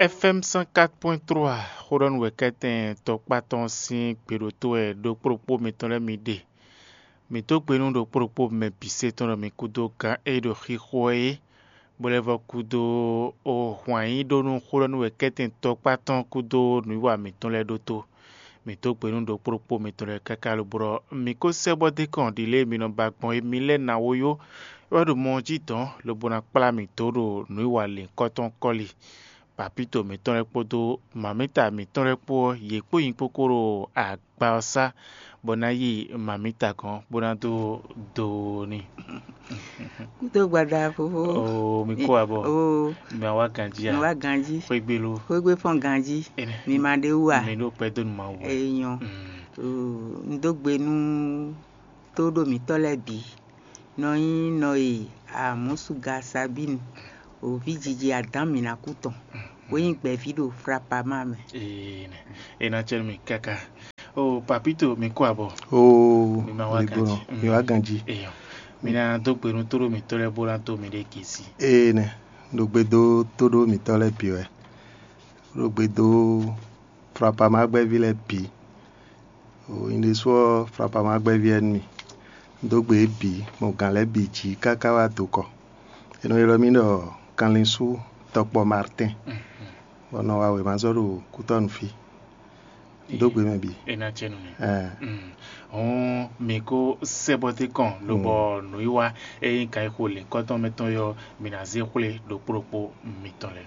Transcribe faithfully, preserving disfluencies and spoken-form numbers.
F M cent quatre point trois, xó ɖɔ nú wɛ̌kɛ́tɛn tɔkpá tɔn sín gbe ɖo tó wɛ ɖokpó ɖokpó mitɔn lɛ́ɛ mi ɖe. Mǐ dó gbe nú ɖokpó ɖokpó mɛ bǐ se tɔn ɖɔ mi kúdó gǎn e ɖo xixo ɛ é, bó lɛ́ vɔ́ kúdó hwǎn yí ɖó nú xó ɖɔ nú wɛ̌kɛ́tɛn tɔkpá tɔn kúdó nǔwiwa mǐtɔn lɛ́ɛ ɖótó. Mǐ dó gbe nú ɖokpó ɖokpó mitɔn lɛ́ɛ káká lobo ɖɔ mǐ ko sɛ́ bɔ dé kɔn ɖi lě e mi nɔ ba gbɔn é mi lɛ́ɛ ná wó yó, é wɛ ɖo mɔ ɔ́ jí dɔ̌n lobo ná kplá mǐ dó ɖo nǔwiwa lěhunkɔtɔn kɔ́li. Papíto mǐtɔn lɛ́ɛ kpódó mamíta mǐtɔn lɛ́ɛ kpó ɔ́, yě kpó nyi kpókó ɖo agba ɔ́ sá, bɔ ná yi mamíta gɔ́n, bó ná dó do n'i. Kúdó gbada fofó. Oo, mi kó abɔ. Oo, Mi ma wá ganjí a? Mi wá ganjí. Xwégbé ló. Xwégbé fɔ́n ganjí. Énɛ́. Mi ma ɖe wú a? Mi ɖó kpɛdó nú Mawu wɛ. Eyɔn. Mm. Oo, un dó gbe nú tóɖó mǐtɔn lɛ́ɛ bǐ. Nɔ nyí nɔ e Amɔ̌suga Sabínu, òví jiji Adǎn mǐnakú tɔn, bó nyí gbɛ̌ví ɖo Flapama mɛ. Ee, nɛ. É ná cɛ nú mi káká. Oo, Papíto, mi kó abɔ. Oo, Mi ma wá mi ganjí. Gbɔn, Mm. mi wá ganjí. Eyɔn. Mi ná dó gbe nú tóɖó mǐtɔn lɛ́ɛ bó ná dó miɖée gěsi. Ee, nɛ. Ɖo gbe dó tóɖó mǐtɔn lɛ́ɛ bǐ wɛ. Ɖo gbe dó Flapama gbɛ́ví lɛ́ɛ bǐ. Oo, nyɛ ɖésú ɔ́, Flapama gbɛ́ví wɛ nú mì. Un dó gbe yě bǐ, gbɔn gǎn lɛ́ɛ bǐ jí káká wá do kɔ. È nɔ ylɔ́ mì ɖɔ Kanlínsú tɔkpɔ Martɛn, bɔ un nɔ wa wěma zɔ́ ɖo Kútɔ́nu fí. Un dó gbe mɛ bǐ. É ná cɛ nú mi. Ɛɛ. Mm. Hɔn mi kó sɛ́ bɔ dé kɔn lobɔ nǔwiwa e nyí kan e xo lěhunkɔtɔn mɛ tɔn yɔ, mi ná zé xwlé ɖokpó ɖokpó mitɔn lɛ́ɛ.